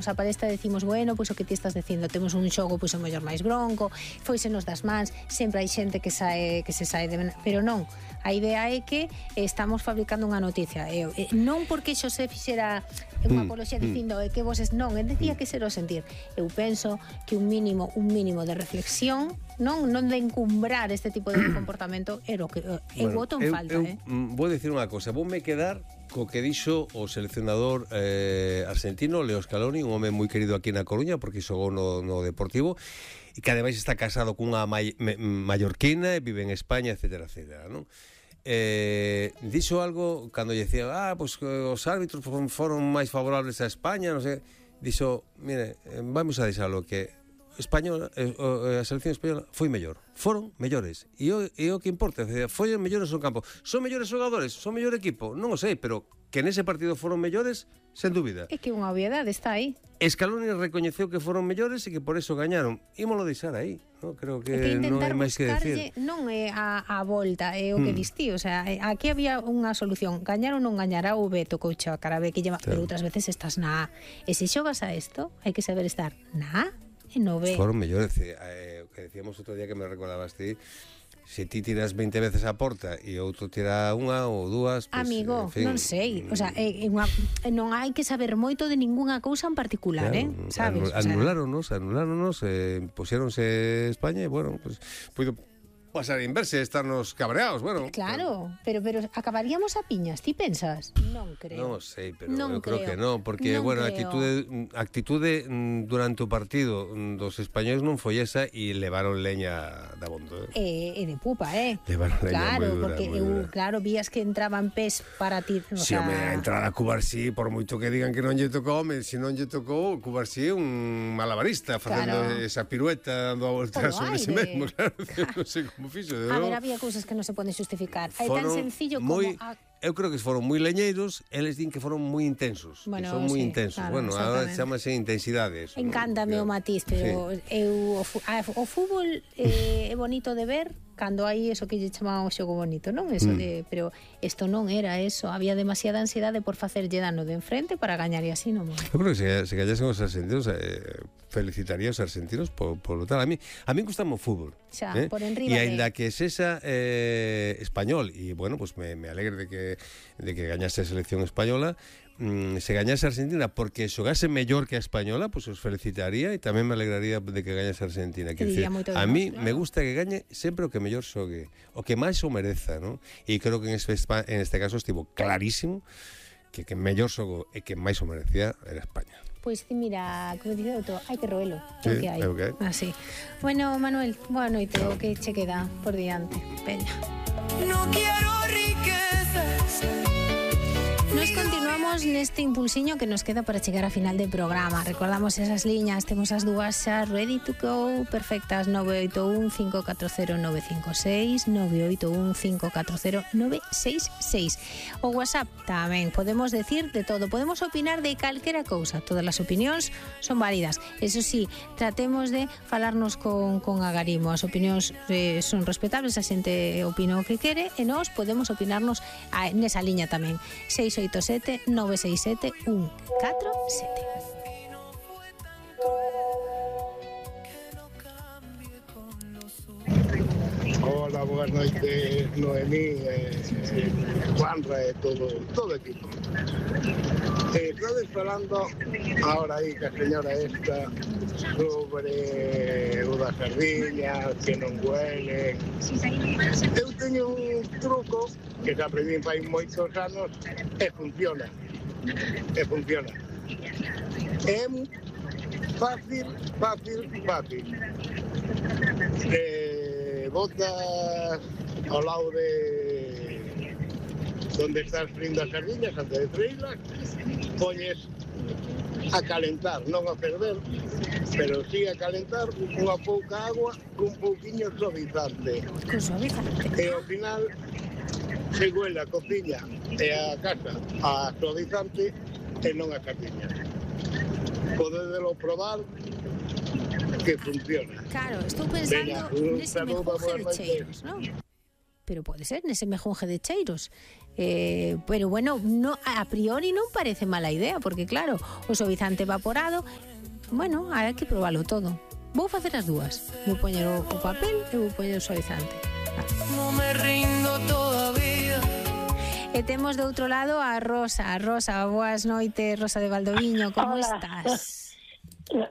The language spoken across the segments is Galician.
a palestra decimos, bueno, pois o que ti estás dicindo, temos un xogo pois o mellor máis bronco, foisenos das mans, sempre hai xente que se sae de... Pero non, a idea é que estamos fabricando unha noticia, non porque xo se fixera unha apoloxía dicindo que voses non, decía que ser o sentir. Eu penso que un mínimo de reflexión, non de encumbrar este tipo de comportamento é o que eu voto en falta. Vou dicir unha cosa, voume quedar co que dixo o seleccionador argentino Leo Scaloni, un home moi querido aquí na Coruña porque xogou no Deportivo e que ademais está casado cunha mallorquina e vive en España, etcétera, etcétera, non? Dixo algo cando lle decía pois os árbitros foron máis favorables a España, non sei, dixo, mire, vamos a deixalo que a selección española foi mellor, foron mellores e o que importa, foi mellores no campo, son mellores xogadores, son mellor equipo, non o sei, pero que nese partido foron mellores, sen dúbida. É que unha obviedade está aí. Scaloni recoñeceu que foron mellores e que por eso gañaron. Ímolo deixar aí, non? Creo que non hai máis que decir. Non é a volta, é o que distí, o sea, aquí había unha solución, gañar ou non gañar, a V tocou a cara B que lleva, pero outras veces estás na A. E se xogas a isto, hai que saber estar na A e no B. Foron mellores, o que decíamos outro día que me recordabas ti, se ti tiras 20 veces a porta e outro tira unha ou dúas, pues, amigo, en fin, non sei, o sea, non hai que saber moito de ningunha cousa en particular, claro, sabes? Anuláronos, puxéronse España e, bueno, pues, puido pasar a inverse, estarnos cabreados, bueno. Claro, pero acabaríamos a piñas, ti pensas? Non creo. Non sei, pero eu creo que non, porque, bueno, a actitude durante o partido dos españoles non foi esa e levaron leña da bondo. E de pupa, Levaron leña moi dura, porque claro, vías que entraban pés para ti. Si, home, a entrada a Cubarsí, por moito que digan que non lle tocou, se non lle tocou, Cubarsí é un malabarista, facendo esa pirueta, dando a volta sobre si mesmo, claro, non sei como fixo. A ver, había cousas que non se poden justificar. É tan sencillo como... Eu creo que foron moi leñeiros, eles din que foron moi intensos, que son moi intensos. Claro, bueno, agora chamase intensidade eso. Encántame o matiz, pero o fútbol é bonito de ver cando hai eso que lle chamaban o xogo bonito, non? Eso de, pero isto non era eso, había demasiada ansiedade por facerlle dano de enfrente para gañar e así non. Eu creo que se gañasen os argentinos, felicitaría os argentinos por lo tal. A mí gustame o fútbol. Xa, por enriba e ainda que sesa español, e bueno, pues me alegre de que gañase a selección española, se gañase a Argentina porque xogase mellor que a española, pues os felicitaría e tamén me alegraría de que gañase a Argentina. A mí me gusta que gañe sempre o que mellor xogue, o que máis o mereza, ¿no? E creo que en este caso estivo clarísimo que mellor xogou e que máis o merecía era España. Pois mira, como dice outro, hai que roelo, sí, que hai. Okay. Así. Bueno, Manuel, boa noite, o que che queda por diante. Veña. No quiero riquezas. Nos continuamos neste impulsiño que nos queda para chegar a final de programa. Recordamos esas liñas, temos as dúas xa ready to go, perfectas, 981 540 956, 981 540 966. O WhatsApp tamén, podemos decir de todo, podemos opinar de calquera cousa, todas as opinións son válidas. Eso sí, tratemos de falarnos con agarimo, as opinións son respetables, a xente opina o que quere e nós podemos opinarnos nesa liña tamén. 687 967 147. Hola, boas noites, Noemí, Juanra e todo o equipo. Estades falando ahora aí que a señora esta sobre o das sardiñas, que non huele. Eu teño un truco que se aprendí fai moitos anos e funciona. É fácil. Botas ao lado de donde estás frindo as sardiñas antes de freilas, poñes a calentar, non a ferver, pero sí a calentar unha pouca agua cun pouquiño suavizante. E ao final se huele a cociña e a casa a suavizante e non a sardiña. Podedelo probar que funciona. Claro, estou pensando nese mejor cheiros, non? pero pode ser nese mejonje de cheiros. Pero bueno, no, a priori non parece mala idea, porque claro, o suavizante evaporado, bueno, hai que probarlo todo. Vou facer as dúas. Vou poñer o papel e vou poñer o suavizante. No me rindo todavía. E temos do outro lado a Rosa. Rosa, boas noites, Rosa de Valdoviño, como estás?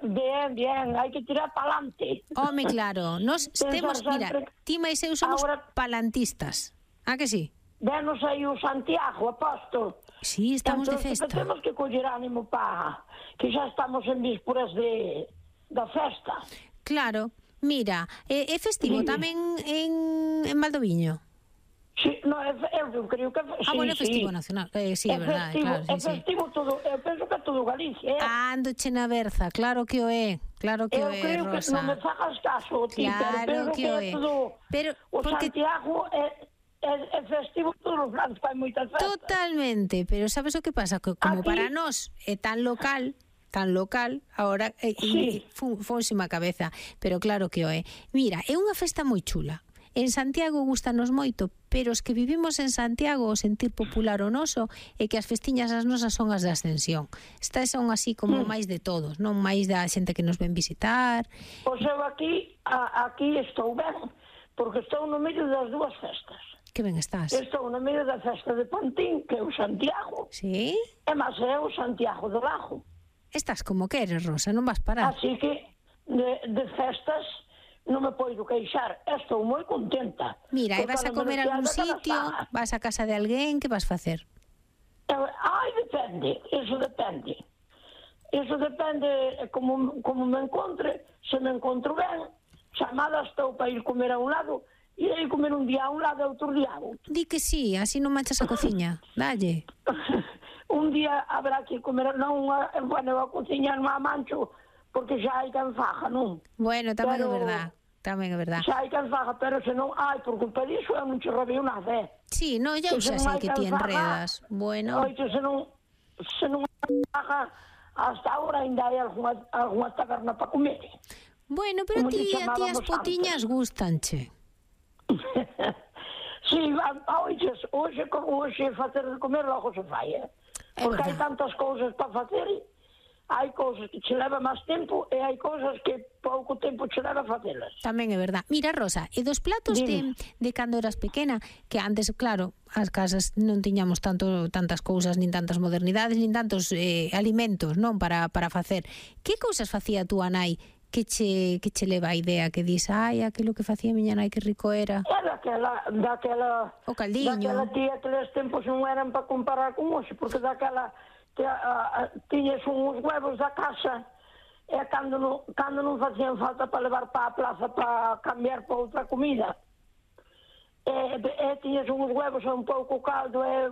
Bien, hai que tirar para adelante. Home, claro, nos temos, mira, ti máis eu somos palantistas. Ah, que sí? Venos aí o Santiago, apóstol. Sí, estamos de festa. Temos que coller ánimo para que xa estamos en vísperas da festa. Claro, mira, é festivo tamén en Valdoviño. Sí, no, eu creo que sí. Bueno, é festivo nacional. Sí, é verdade, claro. É festivo todo, eu penso que todo Galicia. Ando che na berza, claro que o é. Claro que o é, Rosa. Eu creo que non me fagas caso, ti, claro pero que o é. Pero o Santiago é festivo todos os anos, fai moitas festas. Totalmente, pero sabes o que pasa? Que como para nós é tan local, agora fónsima a cabeza, pero claro que o é. Mira, é unha festa moi chula. En Santiago gustanos moito, pero os que vivimos en Santiago o sentir popular o noso é que as festiñas as nosas son as de Ascensión. Estas son así como máis de todos, non máis da xente que nos ven visitar. Pois eu aquí estou ben, porque estou no medio das dúas festas. Que ben estás? Estou no medio da festa de Pantín, que é o Santiago. Sí? E máis é o Santiago do Lago. Estás como queres, Rosa, non vas parar. Así que de festas non me podo queixar, estou moi contenta. Mira, e vas a comer a algún sitio, vas a casa de alguén, que vas facer? Depende, eso depende. Eso depende como me encontre, se me encontro ben, chamada estou para ir comer a un lado, e aí comer un día a un lado e outro día a outro. Di que sí, así non manchas a cociña, dalle. Un día habrá que comer, non, bueno, a cociña non a mancho, porque xa hai quen faja, non? Bueno, tamén é verdad. Tamén é verdad. Xa hai quen faga, pero se non hai, por culpa disso, eu non che robei nada, Sí, no, eu xa sei que ti enredas. Bueno. Oito, se non faga, hasta ahora ainda hai algunha taberna para comer. Bueno, pero a ti as potiñas gustanche. Sí, hoxe facer de comer logo se fai, porque hai tantas cousas para facer. Hai cousas que che leva máis tempo e hai cousas que pouco tempo che leva a facelas. Tamén é verdad. Mira, Rosa, e dos platos de cando eras pequena, que antes, claro, as casas non tiñamos tantas cousas, nin tantas modernidades, nin tantos alimentos, non, para facer. Que cousas facía túa nai que che leva a idea que dis, aquilo que facía miña nai que rico era? Daquela o caldiño. Daquela tía que les tempos non eran para comparar con hoxe, porque daquela tiñes uns huevos da casa e cando non facían falta para levar para a plaza para cambiar para outra comida e tiñes uns huevos e un pouco caldo e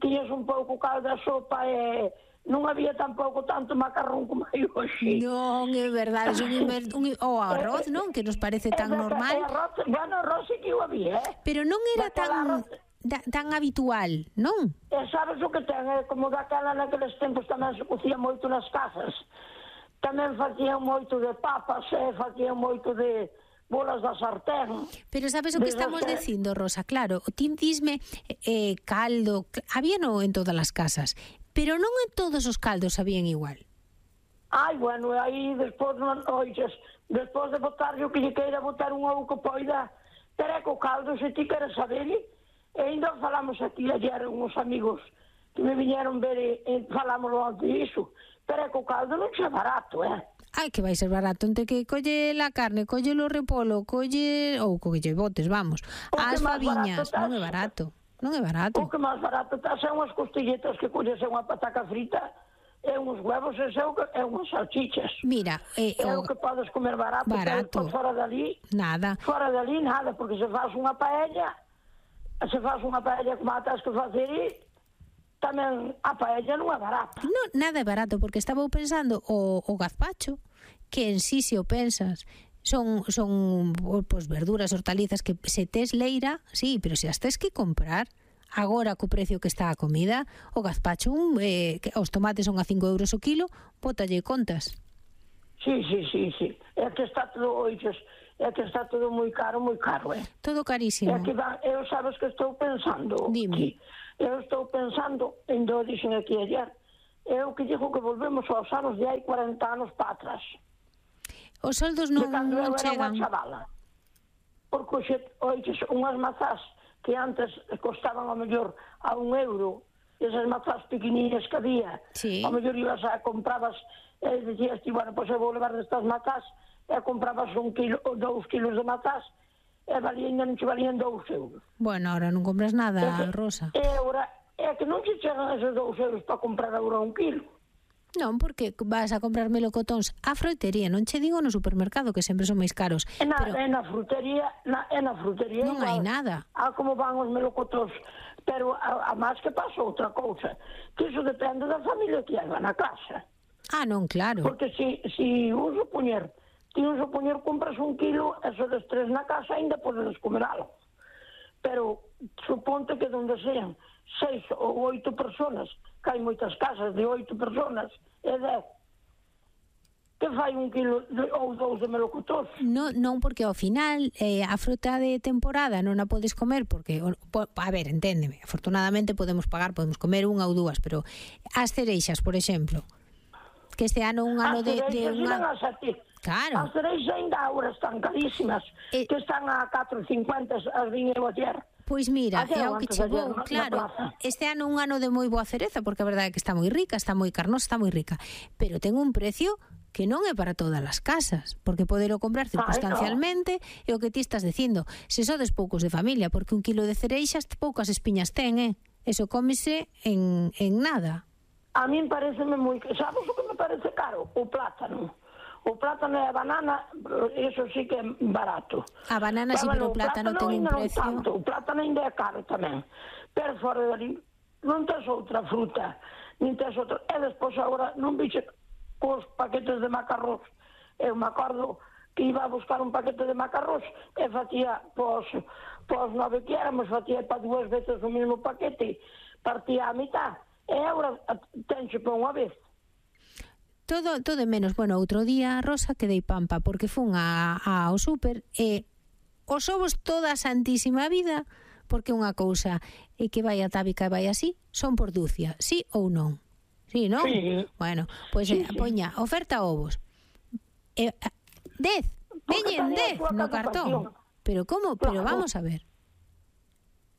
tiñes un pouco caldo a sopa e non había tampouco tanto macarrón como hai hoxe. Non, é verdade, o arroz, non? Que nos parece tan normal. Arroz sí que o había, pero non era tan habitual, non? E sabes o que ten? Como daquela naqueles tempos tamén se cocía moito nas casas. Tamén facían moito de papas, facían moito de bolas da sartén. Pero sabes o que estamos dicindo, Rosa? Claro, o ti disme caldo, había no en todas as casas, pero non en todos os caldos sabían igual. Bueno, aí despois de botar o que lle queira botar un ovo que poida, tereco caldo, se ti queres saber. E ainda falamos aquí ayer uns amigos que me viñeron ver e falamos antes disso, pero é que o caldo non é barato, Que vai ser barato, entre que colle la carne, colle o repolo, colle botes, vamos, as faviñas, non é barato. Non é barato. O que máis barato está son unhas costilletas que colles unha pataca frita e uns huevos e unhas salchichas. Mira, é o que podes comer barato. Fora dali nada, porque se faz unha paella como a tens que facer e tamén a paella non é barata. Non, nada é barato, porque estaba pensando o gazpacho, que en sí, se o pensas, son pues, verduras, hortalizas que se tes leira, sí, pero se as tes que comprar agora co precio que está a comida, o gazpacho, os tomates son a 5 euros o kilo, bótalle contas. Sí. É que está todo, oixes, é que está todo moi caro, Todo carísimo. É que eu sabes que estou pensando. Dime. Eu estou pensando, ainda o dixen aquí ayer, eu que digo que volvemos aos anos de hai 40 anos para atrás. Os soldos non cando eu era chegan. unha chavala. Porque, oixes, unhas mazás que antes costaban ao mellor a €1, esas mazás pequeninas que había, Sí. ao mellor ibas a comprabas, e dicías ti, bueno, pois eu vou levar destas mazás, e comprabas 1 kilo ou 2 kilos de mazás, e non che valían €2. Bueno, ahora non compras nada, Rosa. E agora, é que non che chegan esos €2 para comprar agora 1 kilo. Non, porque vas a comprar melocotóns á froitería, non che digo no supermercado, que sempre son máis caros. Pero Na frutería non hai nada. Como van os melocotóns. Pero a máis que pasa outra cousa, que iso depende da familia que hai na casa. Non, claro. Porque si un supoñer compras 1 kilo, eso de 3 na casa, ainda podes comer algo. Pero suponte que donde sean 6 ou 8 personas, que hai moitas casas de 8 personas, e 10, que fai 1 kilo ou 2 de melocotóns? Non, porque ao final a fruta de temporada non a podes comer porque, a ver, enténdeme, afortunadamente podemos comer unha ou dúas, pero as cereixas, por exemplo, que este ano un ano de unha... Claro. As cereixas ainda agora están carísimas, que están a 4,50 as viñas de ayer. Pois mira, é o que chegou, claro, este ano un ano de moi boa cereza, porque a verdade é que está moi rica, está moi carnosa, está moi rica, pero ten un precio que non é para todas as casas, porque podelo comprar circunstancialmente, e o que ti estás dicindo, se sodes poucos de familia, porque 1 kilo de cereixas poucas espiñas ten, eso cómese en nada. A min pareceme moi... Sabes o que me parece caro? O plátano. O plátano e a banana, eso sí que é barato. A banana sí, pero o plátano ten un precio... O plátano ainda é caro tamén. Pero fora dali, non tes outra fruta, nin tes outra... E despois agora non biche cos paquetes de macarrós. Eu me acordo que iba a buscar un paquete de macarrós e facía pos 9 que éramos, facía para 2 veces o mesmo paquete, partía a mitad. E agora tenxe para unha vez. Todo menos, bueno, outro día, Rosa, quedei pampa, porque fun ao súper e os ovos toda a santísima vida, porque unha cousa é que vai a tábica e vai así, son por dúcia, sí ou non? Sí, non? Sí. Bueno, pois poña, oferta ovos. 10, veñen 10 no cartón. Pero como? Pero vamos a ver.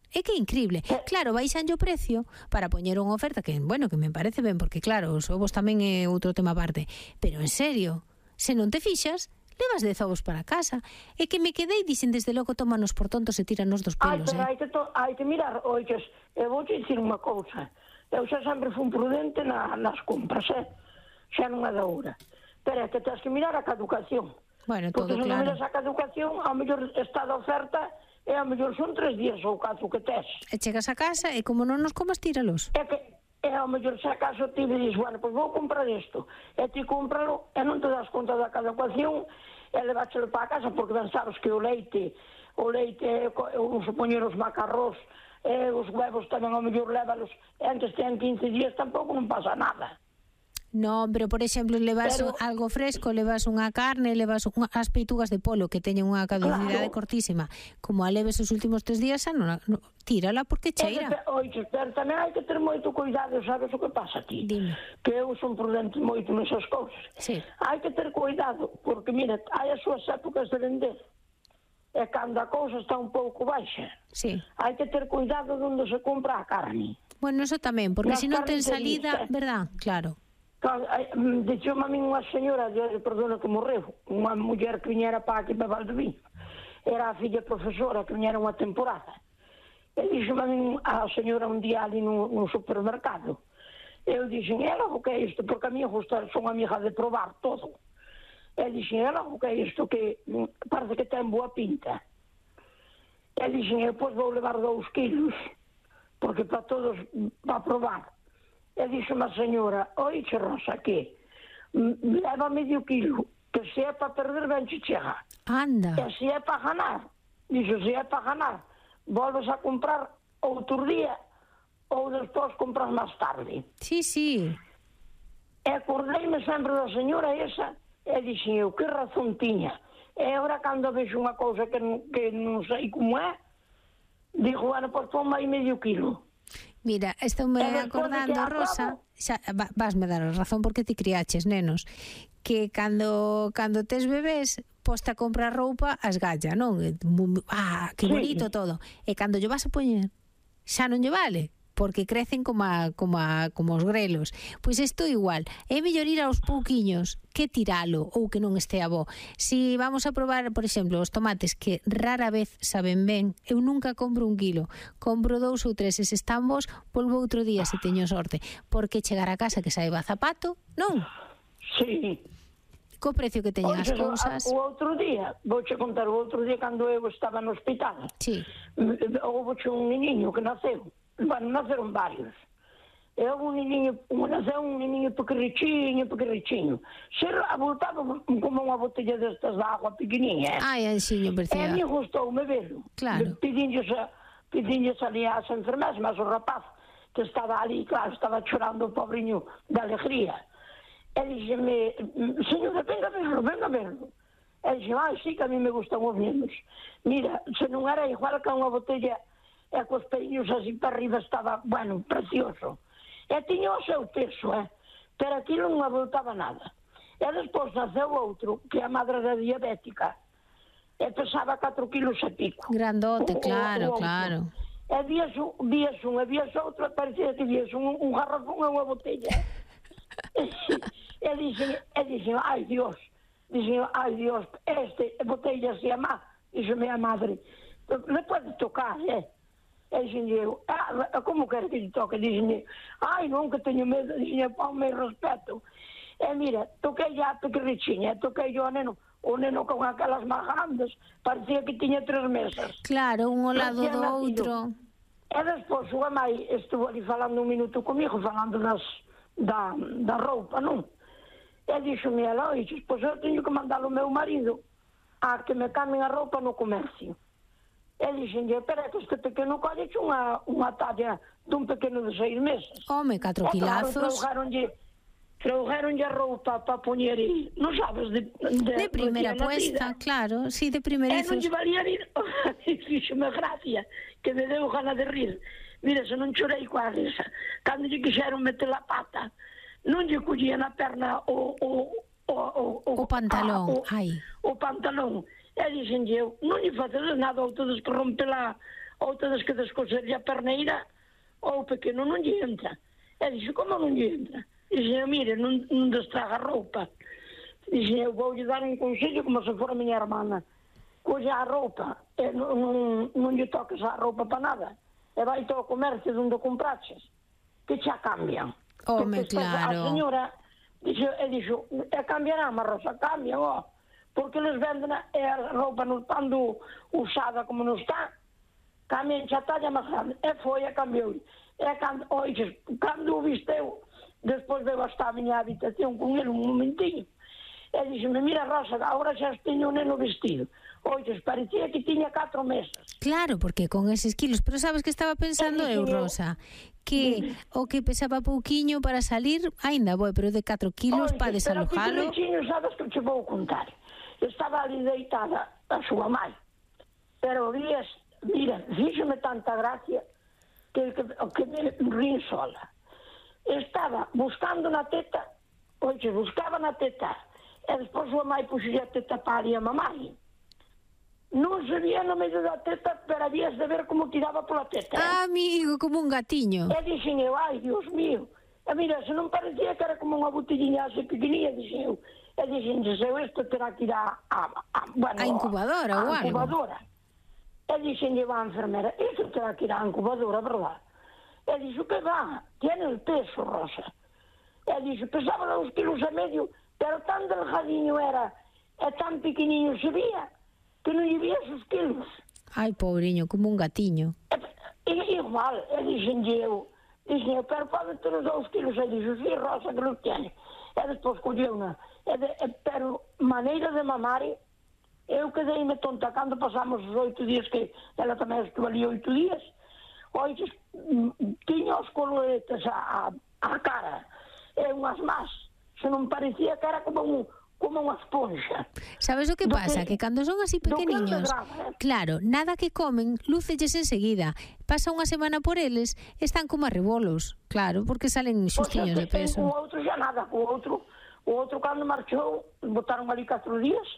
É que é increíble. Claro, baixan o precio para poñer unha oferta que, bueno, que me parece ben, porque claro, os ovos tamén é outro tema aparte. Pero en serio, se non te fixas, levas 10 ovos para casa. É que me quedei, dicen, desde logo tómanos por tontos e tíranos dos pelos, pero hai que mirar, oiches, eu vou te dicir unha cousa. Eu xa sempre fui prudente nas compras, xa non é da hora. Pero é que tens que mirar a caducación. Bueno, todo porque se non claro. miras a caducación, ao mellor está de oferta, e ao mellor son 3 días ou 4 que tes. E chegas a casa e como non nos comas, tíralos. É que ao mellor se acaso ti dices, bueno, pois vou comprar isto, e ti cómpralo e non te das conta da caducación e leváchelo para a casa, porque ben sabes que o leite, eu supoñer os macarrós, os huevos tamén ao mellor lévalos, e antes ten 15 días tampouco non pasa nada. Non, pero por exemplo, levas algo fresco, levas unha carne, levas as peitugas de polo que teñen unha caducidade cortísima. Como a leves os últimos 3 días, tírala porque cheira. Oixe, pero tamén hai que ter moito cuidado, sabes o que pasa aquí? Dime. Que eu son prudente moito nesas cousas. Sí. Hai que ter cuidado, porque, mira, hai as súas épocas de vender. E cando a cousa está un pouco baixa, sí, hai que ter cuidado onde se compra a carne. Bueno, eso tamén, porque se non ten salida, verdad? Claro. Dixome a min unha señora, perdona que morreu, unha muller que viñera para aquí para Valdevín, era a filla profesora que viñera unha temporada, e dixome a min a señora un día ali no supermercado, eu dixen, ela o que é isto, porque a mí son amiga de probar todo, e dixen, ela o que é isto, que parece que ten boa pinta, e dixen, eu pois vou levar 2 kilos, porque para todos va a probar. E dixo a señora, oixe Rosa, que leva medio kilo, que se é para perder ben che chega. Anda. E se é para ganar, dixo, se é para ganar, volves a comprar outro día ou despois compras máis tarde. Sí, sí. E acordeime sempre da señora esa, E dixen eu, que razón tiña. E agora cando vexo unha cousa que non sei como é, digo, bueno, pois ponme aí medio quilo. Mira, estou me acordando, Rosa, xa, vasme dar a razón porque ti criaches nenos, que cando tes bebés, posta a comprar roupa as galla, non? Que bonito todo. E cando lle vas a poñer, xa non lle vale, porque crecen como os grelos. Pois isto igual, é mellor ir aos pouquiños que tiralo ou que non este bo. Si vamos a probar, por exemplo, os tomates que rara vez saben ben, eu nunca compro 1 kilo, compro 2 ou 3, e se están bons, volvo outro día se teño sorte, porque chegar a casa que saiba zapato, non? Sí. Co precio que teñen as cousas. O outro día, vouche contar, o outro día cando eu estaba no hospital, houve un niño que naceu. Bueno, naceron varios. E houve naceu un niño pequerrichiño. Se abultaba como unha botella destas de agua pequenininha. Ai, anxiño, precioso. E a mí gustoume verlo. Claro. Pedinlles ali ás enfermeras, mas o rapaz que estaba ali, claro, estaba chorando o pobriño de alegría. E dixeme, señora, venga a verlo. E dixeme, sí, que a mí me gustan os nenos. Mira, se non era igual que unha botella, e cos peiños así para arriba estaba, bueno, precioso. E tiña o seu peso, pero aquilo non abultaba nada. E despois naceu outro, que a madre era diabética, e pesaba 4 kilos e pico. Grandote, claro. E vías un, e vías outro, parecía que vías un garrafón e unha botella. E dixen, ai Dios, botella se ama, dixeme a madre, le pode tocar, E dixen eu, como quero que lle toque? Dixen, ai non, que teño medo, dixen, ponme respeto. E mira, toquei a pequerrichiña, toquei o neno con aquelas máis grandes, parecía que tiña 3 mesas. Claro, un ao lado do outro. E despois o amai estuvo ali falando 1 minuto comigo, falando da roupa, non? E dixo-me, Eloís, pois eu teño que mandar o meu marido a que me cambien a roupa no comercio. E dixenlle, espera, que este pequeno colleche unha talla dun pequeno de 6 meses. Home, 4 kilazos. Trouxeronlle a roupa para poñer, non sabes, de primeira puesta, claro, sí, de primerizos. E non lle valía rir, fíxome gracia, que me deu gana de rir. Mira, se non chorei coa risa. Cando lle quixeron meter a pata, non lle collían a perna o pantalón, o pantalón. E dixenlle eu, non lle facedes nada, ou tedes que rompela, ou tedes que descoserlle a perneira, ou o pequeno non lle entra. E dixe, como non lle entra? Dixe, mire, non destraga a roupa. Dixe, eu vou lle dar un consello como se fora a miña hermana. Colle a roupa, e non lle toques a roupa para nada. E vai todo o comercio onde compraches, que xa cambian. Home, claro. A señora dixo, e cambiarán, mas Rosa, cambian, porque les venden a roupa non estando usada como non está, cambian xa talla máis grande. E foi, e cambiou. E cando o visteu, despois veu hasta a miña habitación con ele un momentinho, e dixeme, mira Rosa, agora xa teño un neno vestido. Oites, parecía que tiña 4 meses. Claro, porque con eses kilos, pero sabes que estaba pensando eu, Rosa, que o que pesaba pouquiño para salir, aínda boi, pero de 4 kilos para desalojalo. Pero que sabes que te vou contar. Estaba ali deitada a súa mãe, pero mira, fíxome tanta gracia que me rín sola. Estaba buscando na teta, buscaba na teta, e despois a mãe puxolle a teta para ali a mamãe. Non se vía no medio da teta, pero habías de ver como tiraba pola teta. Amigo, como un gatiño. E dixen eu, ai, Dios mío. E mira, se non parecía que era como unha botellinha así pequenina, dixen eu. E dixen, se isto terá que ir a incubadora ou algo. E dixen eu a enfermera, isto terá que ir a incubadora, verdad? E dixo, que va, tiene el peso, Rosa. E dixo, pesaba 2,5 kilos, pero tan delgadinho era, e tan pequeniño se vía, que non lle vías os kilos. Ai, pobreño, como un gatiño. Igual, e dixen eu, pero pode ter os 2 kilos, e dixo, sí, Rosa, que non tiene. E despois colleu unha. Pero maneira de mamar, eu quedei-me tonta cando pasamos os 8 días, que ela tamén estuvo ali 8 días. Oites, tiña os coloretes a cara, e unhas más. Se non parecía que era como como unha esponxa. Sabes o que pasa? Que cando son así pequeniños, claro, nada que comen, lúcelles enseguida. Pasa unha semana por eles, están como a rebolos, claro, porque salen xustiños de peso. O outro xa nada, o outro cando marchou, botaron ali 4 días,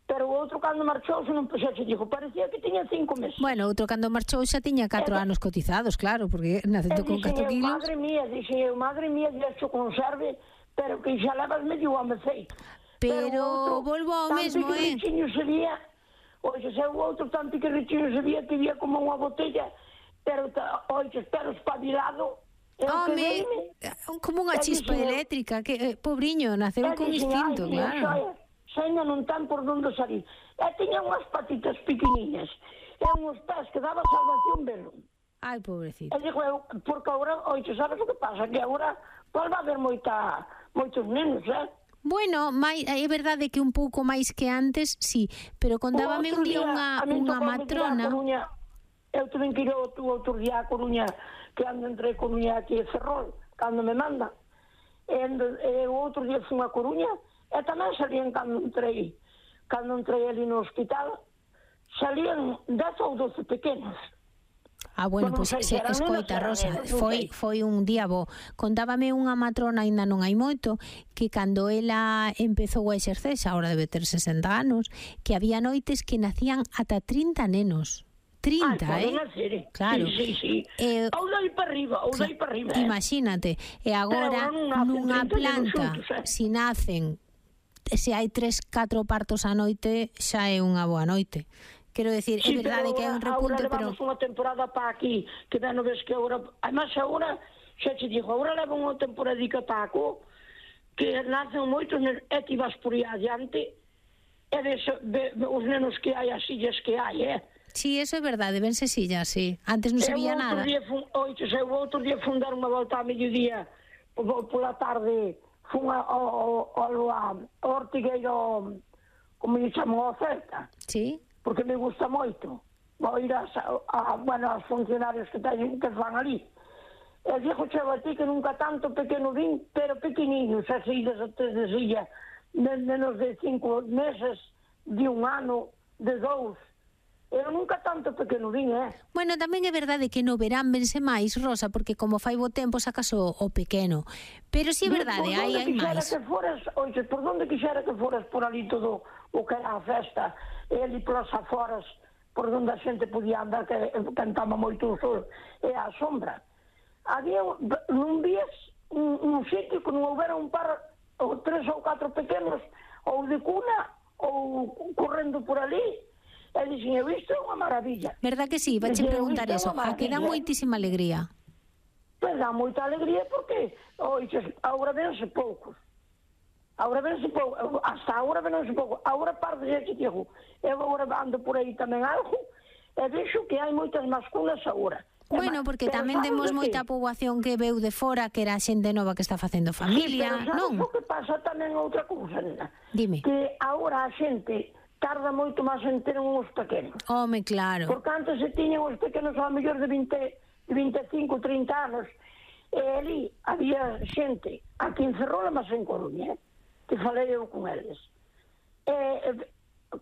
pero o outro cando marchou, se non puxeche, dijo, parecía que tiña 5 meses. Bueno, outro cando marchou xa tiña 4 anos cotizados, claro, porque nacendo con 4 kilos. Madre mía, deixo conserve, pero que xa levas medio home feito. Pero volvo ao mesmo, Sabía, oxe, se o outro tan piquirrichiño sabía que había como unha botella, pero, oxe, pero espabilado. Home, como unha chispa eléctrica, que pobriño, naceu con instinto, claro. Xaina non ten por onde salir. E tiña unhas patitas pequeniñas e uns pés que daba salvación velo. Ai, pobrecito. E digo eu, porque agora, oxe, sabes o que pasa? Que agora vai haber moitos nenos, Bueno, é verdade que un pouco máis que antes, sí, pero contábame un día unha matrona. Eu tuve que ir outro día a Coruña, que ando entre Coruña aquí e Ferrol, cando me manda. E o outro día fui a Coruña, e tamén salían cando entrei ali no hospital, salían 10 ou 12 pequenos. Bueno, pois escoita, Rosa, foi un día bo. Contábame unha matrona, aínda non hai moito, que cando ela empezou a exercer, xa agora debe ter 60 anos, que había noites que nacían ata 30 nenos. 30, Claro. Sí. Ou dai para arriba, Imagínate. E agora, nunha planta, se nacen, se hai 3-4 partos a noite, xa é unha boa noite. Quero decir, é verdade que é un repunte, pero... Agora levamos unha temporada para aquí, que non ves que agora... Además, agora, xa te digo, agora leva unha temporadica para aquí, que nacen moitos, e ti vas por aí adiante, e ves os nenos que hai, as sillas que hai, Sí, eso é verdade, vense sillas, sí. Antes non se vía nada. O outro día fun dar unha volta a mediodía, pola tarde, fun ao Ortigueiro, como lle chamou, a oferta. Sí. Porque me gusta moito. Vou ir aos funcionarios que fan ali. E dixo chego a ti que nunca tanto pequeno vin, pero pequeniños, así de silla, menos de 5 meses, de 1 ano, de 2. Eu nunca tanto pequeno vin, Bueno, tamén é verdade que no verán vense máis, Rosa, porque como fai bo tempo sacas o pequeno. Pero si é verdade, hai máis. Por onde quixera que foras por ali todo o que era a festa, e ali polas aforas, por onde a xente podía andar, que cantaba moito o sol, e a sombra. Había, non vías un sitio que non houbera un par, ou 3 ou 4 pequenos, ou de cuna, ou correndo por ali. E dixen, isto é unha maravilla. Verdad que sí? Vache preguntar eso. A que dá moitísima alegría. Pois dá moita alegría porque agora vense poucos. Hasta agora vense poucos. Agora parte de que digo, eu agora ando por aí tamén algo, e vexo que hai moitas masculas agora. Bueno, porque tamén temos moita poboación que veu de fora, que era xente nova que está facendo familia, non? Pero sabes o que pasa tamén outra cousa, nena? Dime. Que agora a xente tarda moito máis en ter uns pequenos. Home, claro. Porque antes se tiñan os pequenos ao mellor de 25, 30 anos, e ali había xente, aquí en Ferrol, mas en Coruña, que falei eu con eles. 45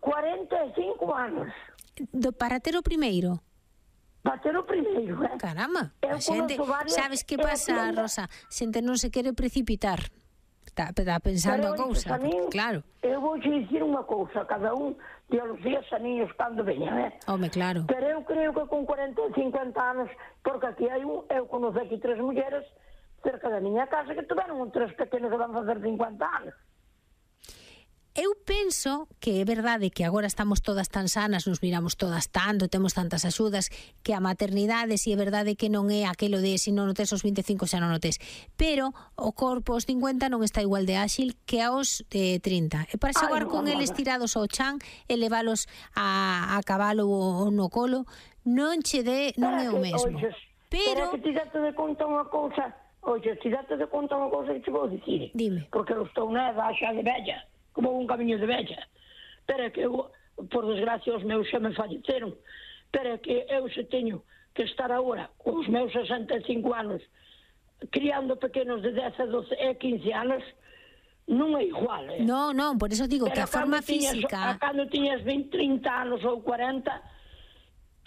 anos. Para ter o primeiro? Para ter o primeiro, Caramba, a xente, sabes que pasa, Rosa? Xente non se quere precipitar. Está pensando a cousa, claro. Eu vou dicir unha cousa, cada un de os días aniños cando veñan, Home, claro. Pero eu creo que con 40 ou 50 anos, porque aquí hai eu conoce aquí 3 mulleres cerca da miña casa que tiveron 3 pequenos que van facer 50 anos. Eu penso que é verdade que agora estamos todas tan sanas, nos miramos todas tanto, temos tantas axudas, que a maternidade, si é verdade que non é aquelo de se non o tes aos 25 xa non o tes, pero o corpo aos 50 non está igual de áxil que aos 30. E para xogar con eles tirados ao chan e leválos a cabalo ou no colo, non che dé, non é o mesmo. Pero que ti date de conta unha cousa, que te vou dicir. Dime. Porque eu estou na edad xa de vella, como un camiño de vella. Pero que eu, por desgracia, os meus xa me falleceron. Pero que eu se teño que estar agora, con os meus 65 anos, criando pequenos de 10 a 12 e 15 anos, non é igual, Non, por eso digo que a forma física... Cando tiñas 20, 30 anos ou 40,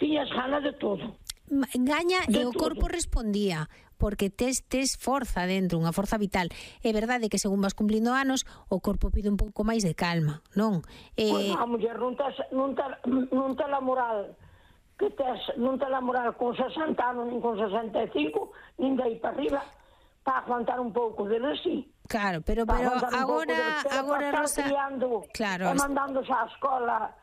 tiñas ganas de todo. Gaña e o corpo respondía, porque tes forza dentro, unha forza vital. É verdade que según vas cumplindo anos, o corpo pide un pouco máis de calma, non? Pois a muller non tes la moral que tes, non tes la moral con 60 anos, nin con 65, nin de aí para arriba, para aguantar un pouco de sí. Claro, pero agora Rosa, claro, e mandándose á escola